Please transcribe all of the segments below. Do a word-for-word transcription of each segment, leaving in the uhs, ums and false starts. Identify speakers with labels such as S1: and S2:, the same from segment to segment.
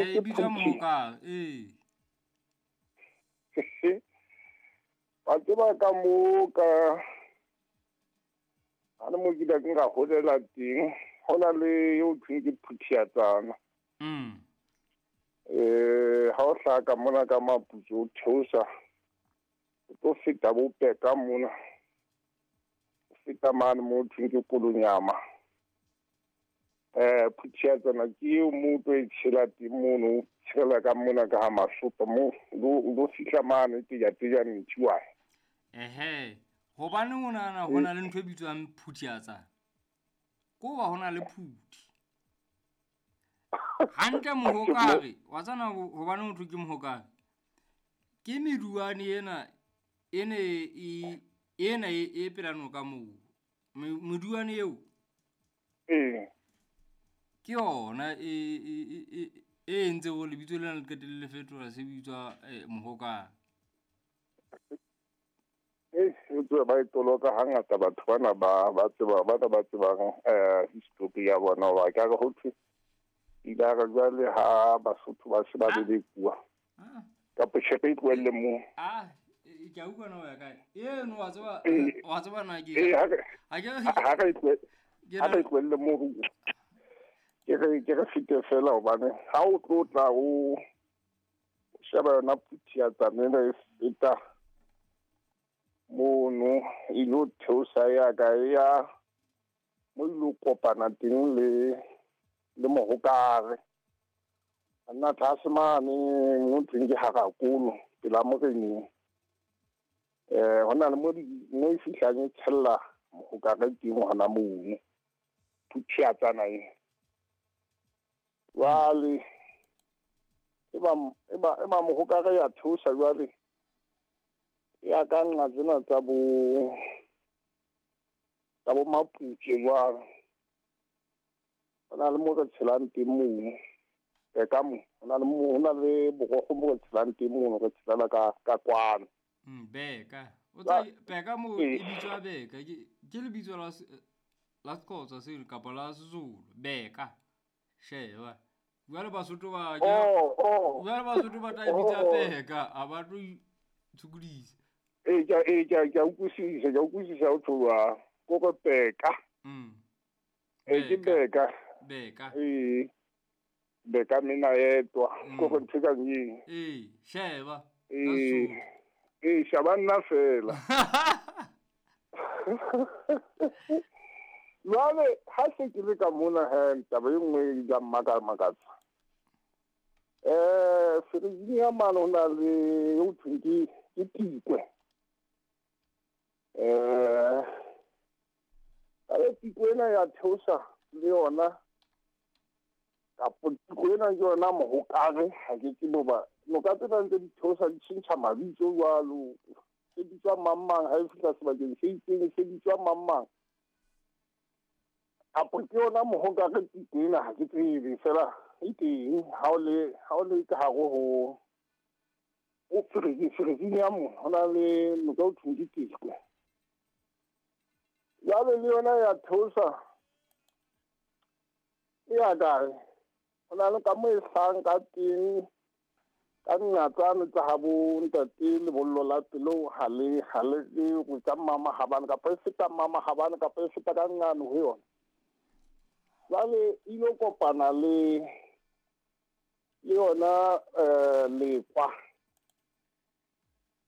S1: E bitswa Mohokare, ee.
S2: Wa tseba ka moo ka ha le mo ke ile ka holela teng, ho na le eo thweng ke Phuthiatsana.
S1: Mm.
S2: Eh, ha o hlaha ka mona ka Maputso o theosa, o tlo feta bo Peka mona. O feta mane mo thweng ke Kolonyama. Eh, Phuthiatsana ke eo mo tlo e tshela teng mono, o tshela ka mona ka ha Masopa mo, o lo fihla mane teja-teja Nthiwane.
S1: Ehe, hobaneng o nahana ho na le ntho e bitswang Phuthiatsana? Ko ba ho na le phuthi. Hantle Mohokare, wa tsana hobaneng ho thwe ke Mohokare? Ke meduwane ena ene e ena e e pela noka moo. Meduwane eo.
S2: Ee.
S1: Ke yona e e e e entse hore lebitso lena le qetelle le fetola se bitswa eh, Mohokare.
S2: E tswe ba e toloka hangata batho bana ba ba tseba bana ba tsebang eh history ya bona ba ka re ho thwe ile re jwale ha Basotho ba se ba lelekuwa kapa tjhepe e tlohelle moo.
S1: Ah, ke a utlwa na o ya kae? Eno wa tseba wa tseba na ke
S2: ha ke re ha re tlohelle moo ke re ke re fete fela hobane ha o tlo tla o sheba yona Phuthiatsana ena e feta mono e lo theosa ya ka ya mo ilo kopana teng le le Mohokare. Nna tlase mane mo thweng ke Harakolo pela moreneng. Eh hona le mo mo e fihlang e tshella Mohokare teng hona mono Phuthiatsana e. Jwale e ba e ba e ba Mohokare ya theosa jwale ya ka nqa tsena tsa bo tsa bo Maputse jwalo. Ho na le mo re tshelang teng mono. Ka mo ho na le mo ho na le borokgo mo re tshelang teng mono, re tshelela ka ka kwano.
S1: Mm, Beka. O tsa Beka mo e bitswa Beka. Ke ke lebitso la la Sexhosa seo kapa la Sezulu. Beka. Sheba. Jwale Basotho ba ke
S2: Oh, oh.
S1: Jwale Basotho ba tla e bitsa Beka, ha ba tlo tshukodisa.
S2: E ke e ke ke utlwisisa, ke utlwisisa o tloha ko re Beka.
S1: Mm.
S2: E ke Beka.
S1: Beka.
S2: E Beka mina yedwa ko go ntho ka eng.
S1: Eh, sheba.
S2: Eh. Eh, sheba nna fela. Jwale ha se ke le ka mona he taba e nngwe ya mmaka makatsa. Eh, Ferijini ya mane ho na le ho thweng ke ke Tikwe. Eh, ale Tikwe ena ya theosa le yona kapo Tikwe ena ke yona Mohokare, ha ke tsebe hoba noka tsena ntse di theosa di tjhentjha mabitso jwalo. Se bitswa mang mang ha e fihla sebakeng se itseng se bitswa mang mang. Kapo ke yona Mohokare Tikwe ena ha ke tsebe fela e teng ha o le ha o le ka hare ho o Ferijini ya mo ho na le noka o thweng ke Tikwe. Jwale le yona ya theosa e ya kae? Ho na le ka mo e hlahang ka teng ka nqa tsane tsa habo ntate lebollo la pelo ha le ha le ke tsa mama habane kapa e feta mama habane kapa e feta ka nqane ho yona. Jwale e lo kopana le le yona eh Lekwa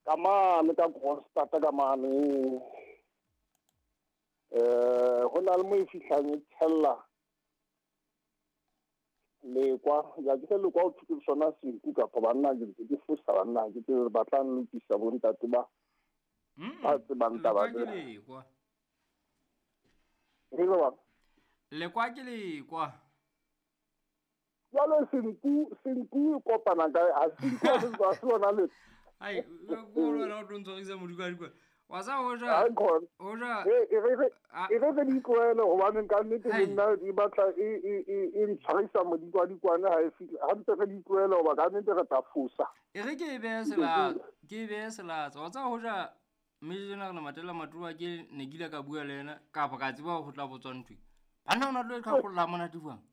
S2: ka mane ka Kroonstad ka mane. Eh ho na le mo e fihlang e tshella Lekwa ya ke Lekwa o thwe ke sona senku kapa banna ke ke fosa banna ke tse batlang lokisa bo ntate ba ba tsebang taba
S1: tsena. Lekwa.
S2: Re ba
S1: Lekwa ke Lekwa.
S2: Jwale senku senku e kopana kae? Ha senku ha se ha se lona le.
S1: Ai, ko lona o tlo ntshwarisa modikwadikwane. Wa sa hoja hoja
S2: e e re e re re di tlohele hobane ka nnete le nna e batla e e e e ntshwarisa modikwadikwane ha e fihla. Ha ntse re di tlohele hoba ka nnete re tla fosa.
S1: E re ke e behe selatsa, ke e behe selatsa. Wa tseba hoja mme jena re Matela Matuba ke ne ke ile ka bua le yena kapa ka tseba ho tla botswa ntho. Banna o na tlo e qhaqholla monate jwang?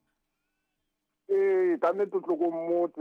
S2: Ee, ka nnete o tlo ko mmotse.